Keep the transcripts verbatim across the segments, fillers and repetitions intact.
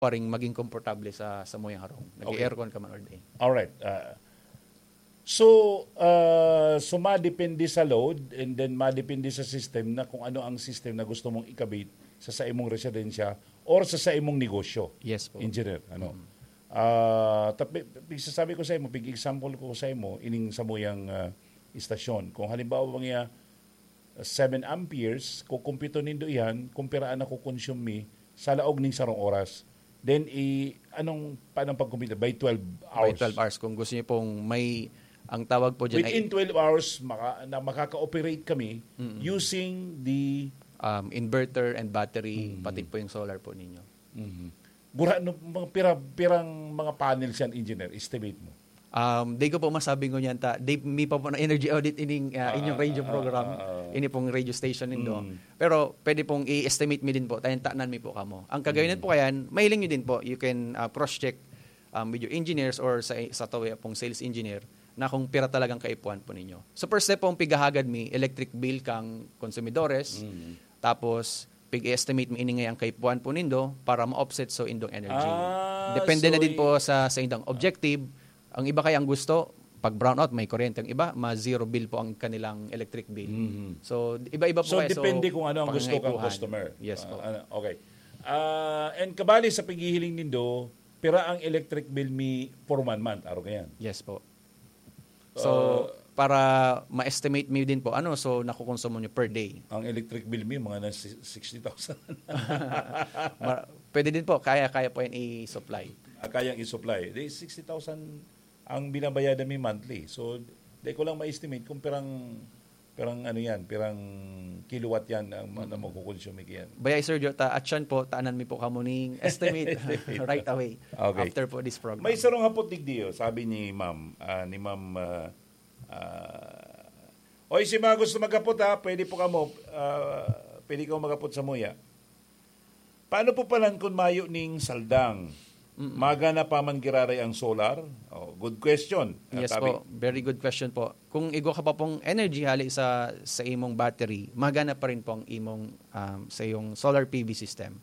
pa rin maging komportable sa, sa muyang harong. Okay. Nag-aircon ka man all day. Alright. Ah, so, ah, so madepende sa load and then madepende sa system na kung ano ang system na gusto mong ikabit sa, sa imong residensya or sa, sa imong negosyo. Yes po. Engineer, ano? Ah, tapi, pigsasabi ko sa imo, pig-example ko sa imo, ining samuyang, ah, istasyon. Kung halimbawa nga seven amperes, kukumpito nindo iyan kung pira an nakukonsume mi sa laog ning sarong oras. Then, i, anong, paano pagkumpito? By twelve By hours. twelve hours. Kung gusto niyo pong may, ang tawag po dyan Within ay, twelve hours, maka, na makaka-operate kami Mm. using the um, inverter and battery, Mm. pati po yung solar po ninyo. Mhm. Gura, no, mga pira, pirang mga panels yan, engineer, estimate mo? Um, di ko po masabi ngunyan ta, di mi pa po na energy audit ining ah, inyong radio Ah, program, ah, ah. Ini pong radio station nindo. Mm. Pero pwede pong i-estimate mi din po, tayan tanan mi po kamo. Ang kagayon Mm. po kayan, mahiling nyo din po, you can ah, cross-check um, with your engineers or sa, sa tawi pong sales engineer na kung pira talagang kaipuhan po ninyo. So first step pong pigahagad mi, electric bill kang konsumidores, Mm. tapos pig-estimate mi ini nga ang kaipuhan po nindo para ma-offset so indong energy. Ah, Depende so na din i- po sa, sa indong objective. Ang iba kaya ang gusto, pag brownout, may kuryente. Ang iba, ma-zero bill po ang kanilang electric bill. Mhm. So, iba-iba po So, kaya. depende kung ano ang gusto kang pangangaipuhan. Customer. Yes po. Ah, ano, okay. Ah, and kabali sa paghihiling nindo, pira ang electric bill mi for one month, aro kayan? Yes po. So, para ma-estimate mi din po, ano, so nakukonsumo nyo per day? Ang electric bill mi, mga na si- sixty thousand. Ma- pwede din po, kaya-kaya po yan i-supply. Ah, kayang i-supply. Di sixty thousand ang binabayadan mi monthly. So, di ko lang ma-estimate kung pirang, pirang ano yan, pirang kilowatt yan ang ma- na makukonsume yan. Baya, Sir Joe, ta, at siyan po, taanan mi po kamo ning estimate right away Okay. after po this program. May sarong hapot digdi, oh, sabi ni Ma'am, ah, ni Ma'am, ah, ah, Oy, si mga gusto maghapot ha, pwede po kamo, ah, pwede kamo maghapot sa muya. Paano po palan kun mayo ning saldang? Magana pa man giraray ang solar? Oh, good question. Yes Tabi. Po, very good question po. Kung igwa ka pa pong energy hali sa sa imong battery, magana pa rin po ang imong um, sa iyong solar P V system.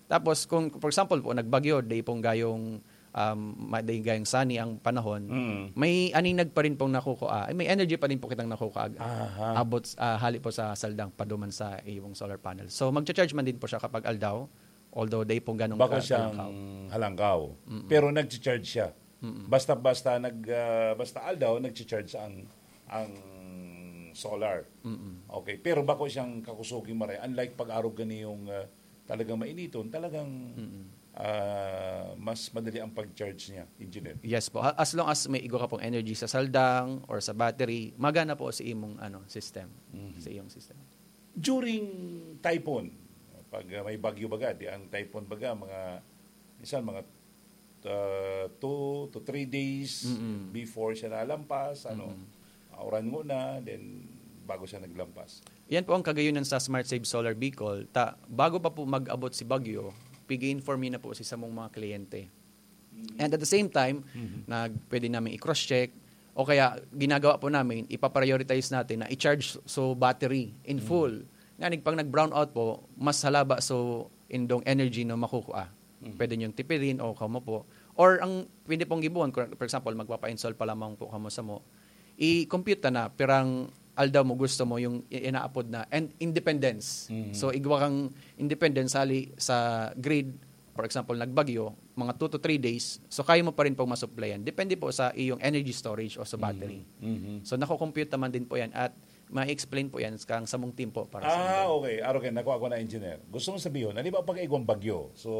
Tapos kung for example po nagbagyo, day pong gayong um, ma- day gayong sunny ang panahon, Mm. may aninag pa rin pong nakukuha, ay, may energy pa rin po kitang nakukuha. Aha. Abot ah, hali po sa saldang paduman sa iyong solar panel. So magcha-charge man din po siya kapag aldaw, although day pong ganong Bako ka- siyang kalangkaw. halangkaw. Pero nag-charge siya. Basta basta nag ah, basta aldaw nag-charge ang ang solar. Okay, pero bako siyang kakusoging maray, unlike pag-arog gani yung ah, talagang mainiton, talagang ah, mas madali ang pag-charge niya, engineer. Yes po. Ha- As long as may igwa ka pong energy sa saldang or sa battery, magana po sa imong ano system, sa iyong system. During typhoon, pag ah, may bagyo baga, di ang typhoon baga, mga, minsan mga ah, two to three days before siya nalampas, ano, ah, uran mo na, then bago siya naglampas. Yan po ang kagayunan sa Smart Save Solar Bicol. Ta, bago pa po mag-abot si bagyo, pigi-inform na po si samong mga kliyente. And at the same time, nag, pwede namin i-cross-check, o kaya ginagawa po namin, ipaprioritize natin na i-charge so battery in full. Nga, pag nag-brownout po, mas halaba so indong energy na makukuha. Pwede niyong tipirin o kamo po. Or ang pwede pong gibuon, for example, magpapa-install pa lamang po kamo sa mo, i-compute ta na pirang aldaw mo gusto mo yung i- inaapod na and independence. So igwa kang independence hali sa grid, for example, nagbagyo, mga two to three days, so kaya mo pa rin pong masupplyan. Depende po sa iyong energy storage o sa battery. So nako-compute naman din po yan at ma-explain po yan kang samong team po para sa Ah, inyo. Okay. Aro kayo, nakuha ko na, engineer. Gusto mong sabihin, halimbawa pag igwang bagyo, so,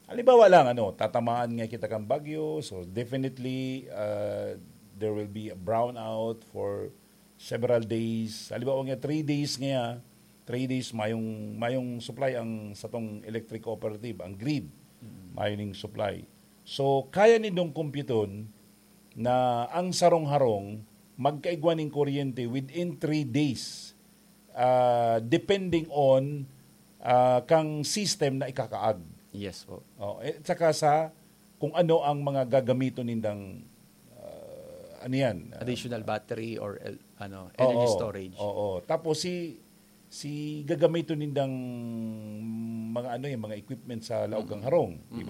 halimbawa lang, ano, tatamaan nga kita kang bagyo, so definitely, uh, there will be a brownout for several days. Halimbawa nga, three days nga, three days mayong, mayong supply ang satong electric cooperative, ang grid. Mayo ning supply. So, kaya nindong kumpyuton na ang sarong harong magkaigwa ning kuryente within three days, ah, depending on ah, kang system na ikakaag. Yes po. Oh, eh, saka sa kung ano ang mga gagamiton nindang ah, ano yan? Ah, Additional battery or el- ano, energy oo, storage. Oo. Tapos si si gagamiton nindang mga ano yung mga equipment sa laog kang harong, di